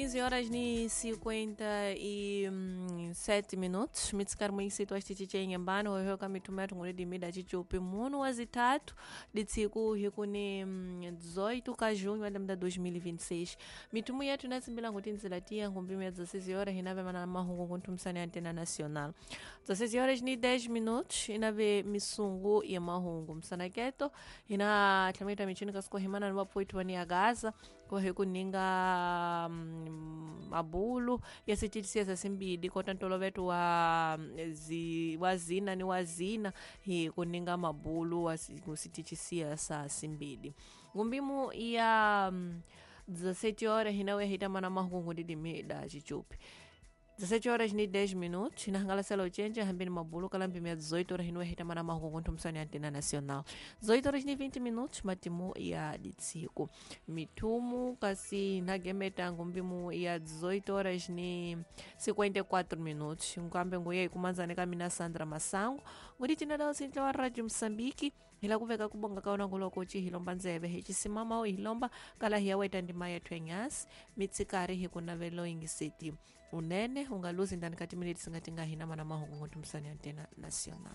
15 horas ni 57 minutos. Mitsikari muisitwa xitichi nyembani hoyoka mithuma yathu nguledi mida chichupi munu wa zitatu ditsiku hikuni 18 ka junho wa lembe 2026. Mithumu yathu inatsimbila nguti ndzila tiya ngumbimi ya 16 horas hinave mana mahungu kunthumisani ya antena nacional. 16 horas ni 10 minutos inave misungu ya mahungu msanaketo ina tlhamita michini kasiko himana ni vapoitwa ni ya Gaza kohe kuninga mabulu ya sititisiya sasimbidi kota ntoloveto wa wa zina ni wa zina hi kuninga mabulu wa kusititisiya sa simbidi ngumbimu ya 17 horas hinawe hitamana mahungu ndidimida chichupi 17 horas ni 10 minutos inahangalasela ochenja hambini mabulu kalambi mia 18 horas hinuwe hitamana mahungu nthumsani ya antena nacional. 18 horas ni 20 minutos matimu ya ditsiku mithumu kasi nagemeta ngumbimu ya 18 horas ni 54 minutos nkambe nguye ikumanzane kamina Sandra Masango nguti tinadao sintla wa Radio Msambiki hila kuveka kubonga kaona ngulokochi hilomba nzeve hichisimama hilomba kala hiyaweta ndima yethu enyasi mitsikari hikunavelo ingiseti unene ungaluzi ndani kati miniti singatinga hina mana mahungu nthumsani antena nacional.